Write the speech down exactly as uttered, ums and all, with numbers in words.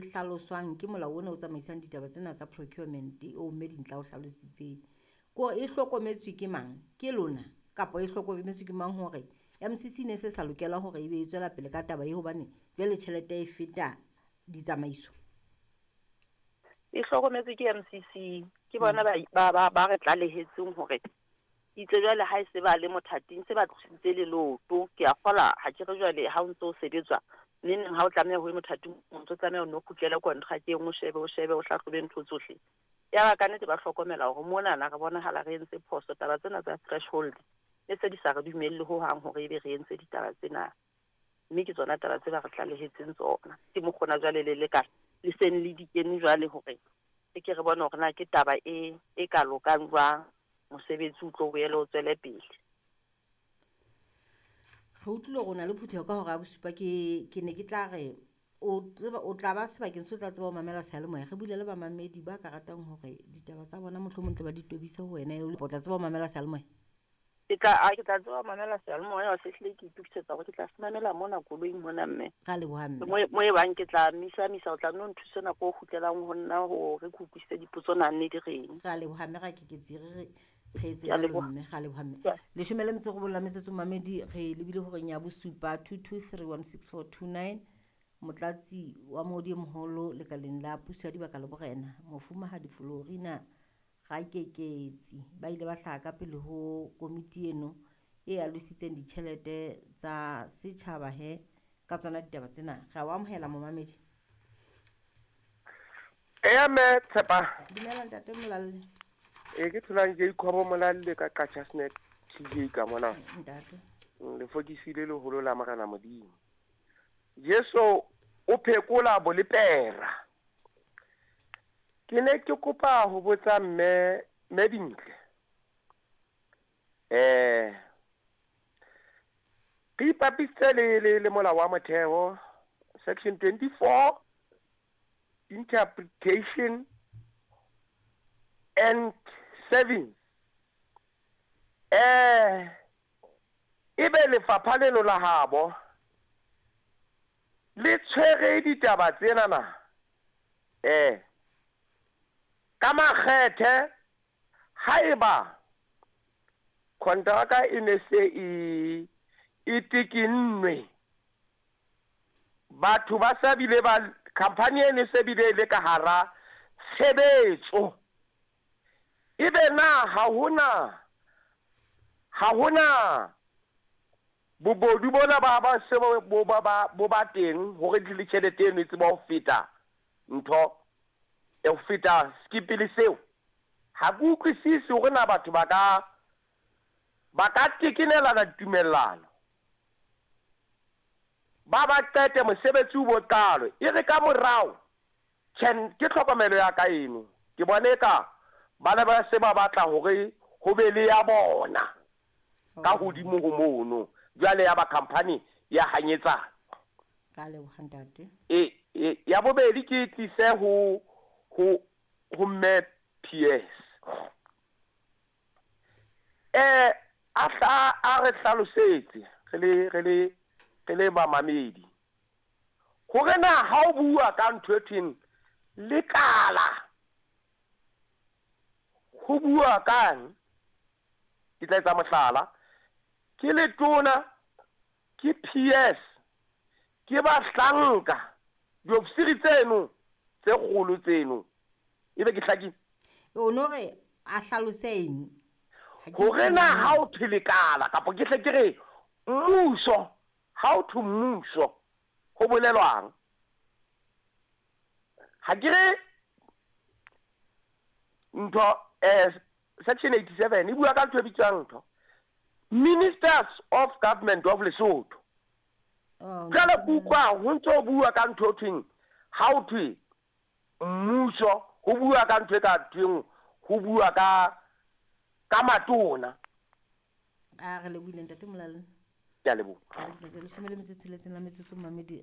e hlaloswang ke molao ona o tsamaisang ditaba tsena tsa procurement o mme Dintla o hlalositseng. Ke hore e hlokometswe ke mang? Ke lona kapa e hlokometswe ke mang hore M C C ne se sa lokela hore ebe e tswela pele ka taba e, hobane jwale tjhelete e feta ditsamaiso? E hlokometswe ke M C C, ke bona ba ba ba, ba re tlalehetseng hore itse jwale ha e se ba le mothating, se ba tlositse leloto. Ke a kgola ha ke re jwale ha o ntso o sebetswa neng neng, ha o tlameha ho ye mothating, o ntso tlameha o nno kgutlele kontrakeng, o shebe o shebe o hlahlobe ntho tsohle. Ya ba kannete ba hlokomela hore monana re bonahala re entse phoso, taba tsena tsa threshold e se di sa re dumelle hohang hore ebe re entse ditaba tsena, mme ke tsona taba tse ba re tlalehetseng tsona. Ke mokgona jwale le le ka le seng le di kene jwale hore re ke re bone hore na ke taba e e ka lokang jwang, mosebetsi o tlo boele o tswele pele. Re utlwile hore o na le phutheho ka hora ya bosupa. ke ke ne ke tla re o tseba o tla ba sebakeng se o tla tseba ho mamela seyalemoya. Re bule le bamamedi ba ka ratang hore ditaba tsa bona mohlomong tle ba di tobise ho wena, o tla tseba ho mamela seyalemoya? Ke tla a ke tla tseba ho mamela seyalemoya. Se hlile ke itokisetsa hore ke tla se mamela mona koloing mona, mme. Ra leboha, mme. Mo mo e bang ke tla misa misa, o tla nno nthuse nako o kgutlelang ho nna hore ke utlwisise dipotso na nne di reng. Ra leboha, mme. Ra keketsi re re re etse Ke a jwalo. Leboha. Mme ra leboha, mme. Ke a- Leshome le metso robong la metsotso, mamedi, re lebile horeng ya bosupa. Two two three one six four two nine. Motlatsi wa moodi e moholo lekaleng la puso ya dibaka le borena, Mofumahadi Florina Rakeketsi, ba ile ba hlaha ka pele ho komiti eno e alositseng ditjhelete tsa setjhaba he ka tsona ditaba tsena. Re a o amohela, momamedi. Eya, mme Tshepa. Dumela, ntate Molalle. E ke tholang ke ikhobo Molalle ka Qacha Snack T J ka mona. Ntate. Mm, lefokisi le leholo la Morena Modimo Jesu o phekola bolepera. Ke ne ke kopa ho botsa mme mme Dintle, eh re ipapisitse le le le molao wa motheo section twenty-four interpretation and seven. eh ebe lefapha leno la habo le tshwere ditaba tsena na eh ka makgethe, haeba kontraka e ne se e e tekinnwe, batho ba sa bile ba company e ne se bile le ka hara tshebetso, ebe na ha hona ha hona bobodu bona ba ba se bo bo ba ba bo ba teng hore le tjhelete eno e tseba ho feta ntho e ho feta skipele seo? Ha ke utlwisisi hore na batho ba ka ba ka tekenelana ditumellano, ba ba qete mosebetsi o bo qalo, e re ka morao. Tjhe, ke tlhokomelo ya ka eno, ke bone ka ba ne ba se ba batla hore ho be le ya bona ka hodimo ho mono, jwale ya ba company ya hanyetsana. Ka leboha, ntate. e, e ya bobedi ke tlise ho ho ho mme P S, eh a hla a re hlalosetse re le re le re le bamamedi hore na ha o bua ka ntho e thweng lekala, ho bua kang? Ke tla etsa mohlala, ke letona, ke P S, ke bahlanka, diofisiri tseno tse kgolo tseno, ebe ke hlakile? O no re a hlalose eng? Ha ke Hore na utlwe. Ha o thwe lekala, kapa ke hle ke re mmuso, ha o thwe mmuso ho bolelwang? Ha ke re ntho eh section eighty-seven e bua ka ntho e bitswang ntho ministers of government of Lesotho. Oh, Jwale ke utlwa ho ntso bua ka ntho e thweng, ha o thwe mmuso ho bua ka ntho e ka thweng, ho bua ka ka matona. A re lebohile, ntate Molalle. Ke a leboha. Leshome le metso e tsheletseng la metsotso, mamedi.